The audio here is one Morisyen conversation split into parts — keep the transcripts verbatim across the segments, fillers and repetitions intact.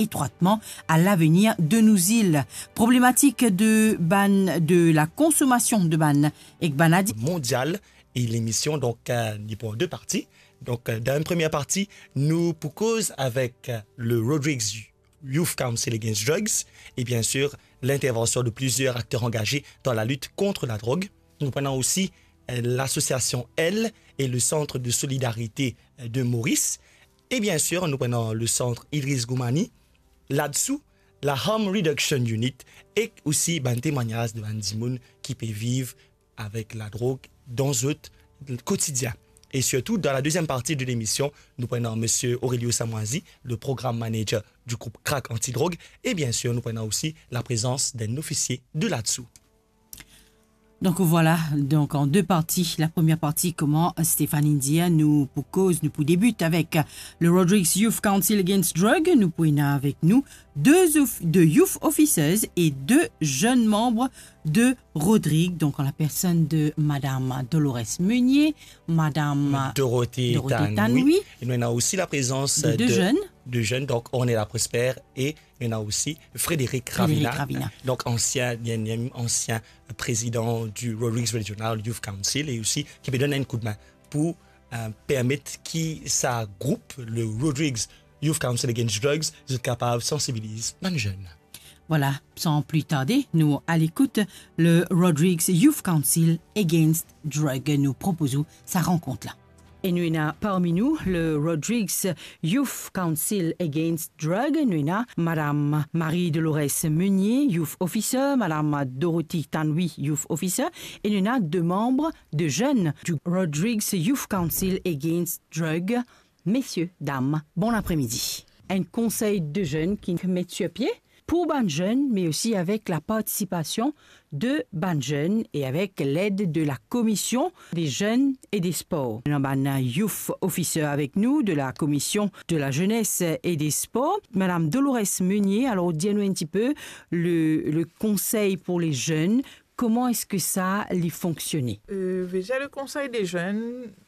étroitement à l'avenir de nos îles. Problematik de bann, de la consommation de bann ek bann adi- Mondial e lemision, donk, euh, li pou an de parti. Donk, euh, dan enn premie parti, nou pou koz avek, euh, le Rodrigues Youth Council Against Drugs e bien sûr l'intervention de plusieurs acteurs engagés dans la lutte contre la drogue. Nou pou ena osi, euh, l'association L et le Centre de Solidarité, euh, de Maurice. E bien sûr, nou pou ena le Centre Idriss Ghoumani, l'ADSOU, la Harm Reduction Unit, e osi bann temwagnaz de bann dimoun ki pe viv avek ladrog dan zot kotidien. E sirtou, dan la deuxième partie de l'émission, nou pou ena Monsieur Aurelio Samoisi, le programme manager du groupe Crack Anti-Drogue, e bien sûr, nou pou ena osi la présence d'un officier de l'ADSOU. Donk, vwala, donk, an de parti. La premie parti, kouma Stéphanie dir, nou pou koz, nou pou debit avek le Rodrigues Youth Council Against Drug. Nou pou ena avek nou de of-, de youth officers e de zenn manm de Rodrigues, donk an la personn de Madame Dolores Meunier, Madame Dorothée Dorothée Tanui. Tanui. E nou ena osi la prezans de de de zenn. De zenn, donk Ornella Prosper e nou ena osi Frédéric Frédéric Ravina. Ravina. Donk ansien, bien, ansien prezidan du Rodrigues Regional Youth Council e osi ki pe donn enn koudmin pou, euh, permet ki sa group, le Rodrigues Youth Council Against Drugs, zot kapav sansibiliz bann zenn. Vwala, san pli tarde, nou al ekout le Rodrigues Youth Council Against Drug. Nou propoz ou sa rankont la. E nou ena parmi nou le Rodrigues Youth Council Against Drug, nou ena Madame Marie Dolores Meunier, Youth Officer, Madame Dorothy Tanui, Youth Officer, e nou ena de manm de zenn du Rodrigues Youth Council Against Drug. Mesie, dam, bon apremidi. Enn konsey de zenn ki met sir pie pou bann zenn, me osi avek la partisipasion de bann zenn e avek led de la Commission des Jeunes et des Sports. Nou ena bann youth officer avek nou de la Commission de la Jeunesse et des Sports, Madame Dolores Meunier. Alor, dir nou enn tipe le, le konsey pou le zenn, kouma eski sa li fonksione? Euh, vedir le konsey de zenn,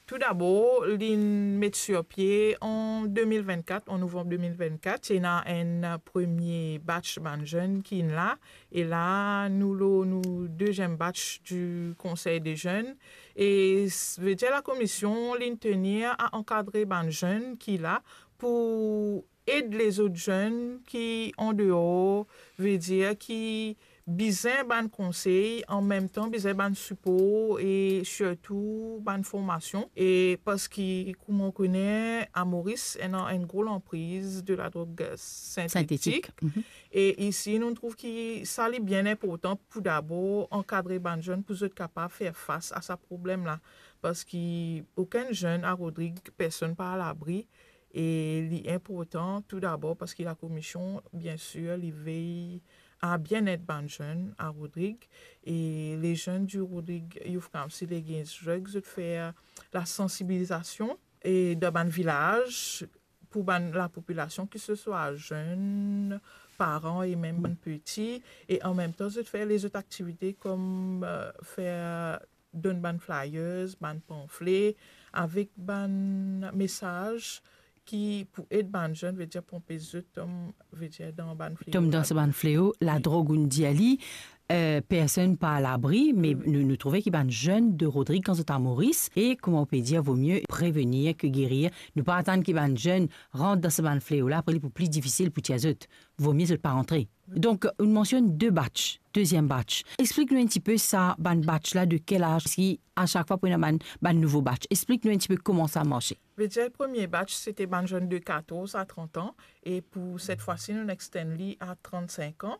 tou dabor, li met sir pie an de mil vennkat, an novanm de mil vennkat. Ti ena enn premie batch bann zenn ki inn la, e la, nou lor nou deziem batch du konsey de zenn. E s-, vedir la komision, li tenir a ankadre bann zenn ki la pou ed lezot zenn ki an deor, vedir ki bizin bann konsey, an mem tan bizin bann sipor e sirtou bann formasion. E parski, kouma ou kone, a Moris, ena enn gro lanpriz de ladrog sintetik. Sintetik. Mhm. E isi, nou trouv ki sa li bien inportan pou dabor ankadre bann zenn pou zot kapav fer fas a sa problem la. Parski okenn zenn a Rodrig, personn pa alabri. E li inportan tou dabor parski la komision, bien sir, li vey a bienet bann zenn a Rodrig, e le zenn du Rodrig Youth Council Against Drugs, zot fer la sansibilizasion e dan bann vilaz pou bann lapopilasion, ki se swa zenn, paran e mem bann piti, e an mem tan zot fer lezot aktivite kom, euh, fer donn bann flyers, bann panfle, avek bann mesaz ki pou ed bann zenn, vedir pou anpes zot tom, vedir dan bann fleo. Tom dan sa bann fleo, ladrog, ou'nn dir li, euh, personn pa alabri, me nou, nou trouve ki bann zenn de Rodrig kan zot a Moris, e kouma ou pe dir, vo mie prevenir ke gerir. Nou pa atann ki bann zenn rant dan sa bann fleo la, apre li pou pli difisil pou tir zot. Vo mie zot pa rantre. Donk, ou mansionn de batch, deziem batch. Explik nou enn tipe sa bann batch la, de kel az, ki a sak fwa pou ena bann, bann nouvo batch. Explik nou enn tipe kouma sa marse. Vedir, premie batch, sete bann zenn de katorz a trant an, e pou set fwa si, nou extend li a trant-sink an.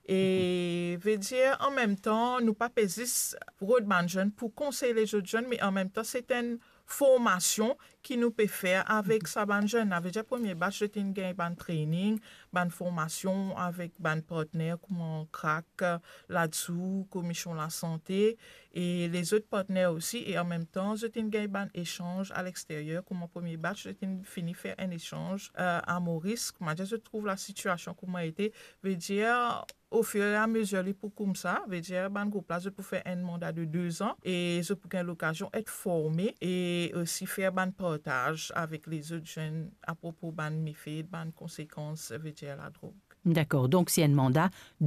E vedir, an mem tan, nou pa pe zis rod bann zenn pou konsey lezot zenn, me an mem tan, se enn formasion ki nou pe fer avek sa bann zenn. Savedir, premie batch, zot inn gagn bann training, bann formasion avek bann partner kouma Crack, l'ADSOU, Komision Lasante, e lezot partner osi, e an mem tan, zot inn gagn bann esanz a lexteryer. Kouma premie batch, zot inn fini fer enn esanz, euh, a Moris. Kouma dir, zot trouv lasitiasion kouma ete, vedir, ofiramezer li pou koumsa, vedir bann group la, zot pou fer enn manda de de zan, e zot pou gagn lokazion et forme, e osi fer bann reportaz avek lezot zenn apropo bann mefe, bann konsekans, vedir ladrog. Dakor, donk se enn manda de